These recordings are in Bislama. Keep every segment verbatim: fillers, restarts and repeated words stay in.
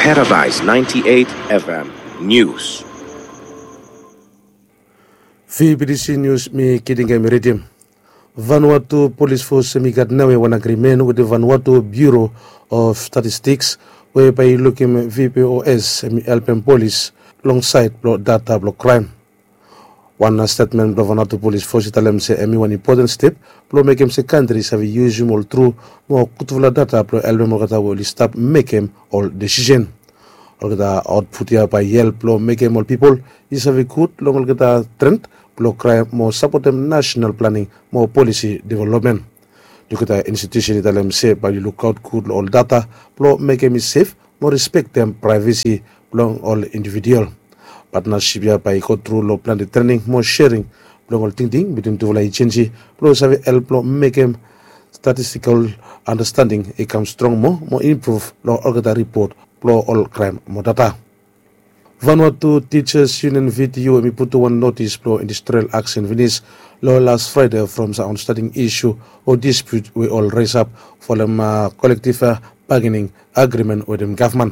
Paradise ninety-eight F M News. Fibidisi Nius mi kiting em i ridim. Vanuatu Polis Fos em i gat naoia wan agrimen wetem Vanuatu Biuro of Statistiks we bae i lukim V P O S em i helpem polis long saed blong data blong kraem. Wan stetmen blong Vanuatu Polis Fos i talem se em i wan impoten step blong mekem se kantri i save yusum ol tru mo gudfala data blong helpem olgeta we oli stap mekem ol desisen. Olgeta aotput ya bae i help blong mekem ol pipol i save gud long olgeta tren blong kraem mo sapotem nasenal planing mo polisi developmen. Olgeta institiusen i talem se bae oli lukaot gud long ol data blong mekem i sef mo respektem praevesi blong ol individual. Patnasip ya bae i go tru long plante trening mo sering blong ol tingting bitwin tufala ejensi blong save help blong mekem statistikal andastanding i kam strong moa mo impruv long olgeta ripot blong ol kraem mo data. Vanuatu Teachers Union V T U em i putum wan notis blong industrial aksen finis long las Fraede from sam aotstanting isu o disput we ol resap folem kolektiv bagening agrimen wetem gavman.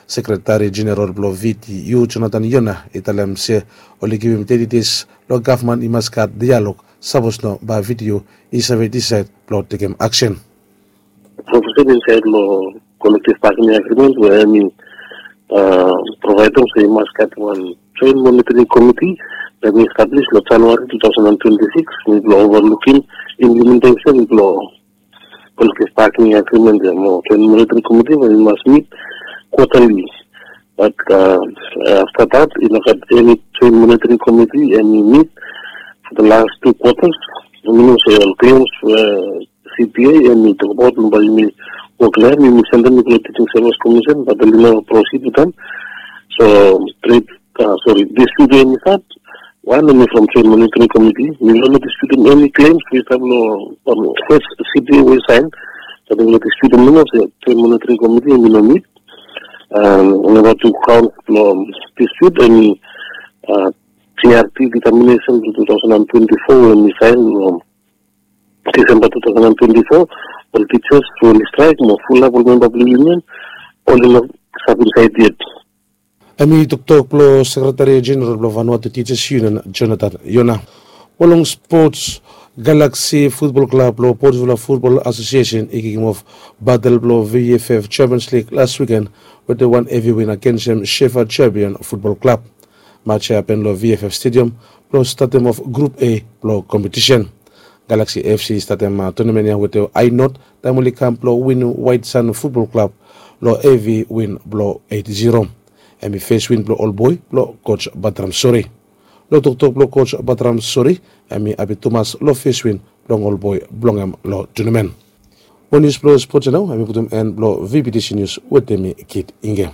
Sekretari Jeneral blong V T U Jonathan Yona i talem se oli givim teti des long gavman i mas gat dialog, sapos no bae V T U i save disaed blong tekem aksen. Profesen insaed long kolektiv bagening agrimen we em i provaedem se i mas gat wan joen monitoring komiti we em i establis long Januari two thousand and twenty-six blong overlukim implementesen blong kolektiv bagening agrimen ya mo joen monitoring komiti we i mas mit kwatali. Bat afta dat i no gat eni joen monitoring komiti em i mit for the last two quarters. Minim se ol klems we C P A em i tokbaot bae yumi wok long hem, yumi sendem i go long Teaching Service Commission, bat oli no proceed with them. So tret, sori, dispute we em i stap, wan em i from joen monitoring komiti. Mi no disputem eni klems we i stap long fes C P A we i saen. Bat mi no disputem nomo se joen monitoring komiti em i no mit. Namba tu kaon blong dispute em i G R T determination blong two thousand and twenty-four we em i saen long Disemba two thousand and twenty-four. Ol tijas we oli straek mo fulap ol memba blong union oli no stap insaed yet. Em i toktok blong Sekretari Jeneral blong Vanuatu Teachers Union, Jonathan Yona. Mo long spots, Galaxy Futbol Klab blong Portuvula Futbol Asosiesen i kikimof batel blong V F F Champions League las wiken wetem wan hevi win agensem Shefa Champion Futbol Klab. Maj ya i hapen long V F F Stadium blong statem of Grup A blong kompetisen. Galaxy F C i statem tonamen ya wetem ae not taem oli kam blong winim Waet San Futbol Klab long hevi win blong eit ziro. Em i fes win blong ol boe blong Koj Batram Sori. Long toktok blong Koj Batram Sori, em i hapi tumas long fes win blong ol boe blong hem long tonamen. Mo nius blong spots ya nao em i putum en blong V B T C Nius wetem mi, Kit Inge.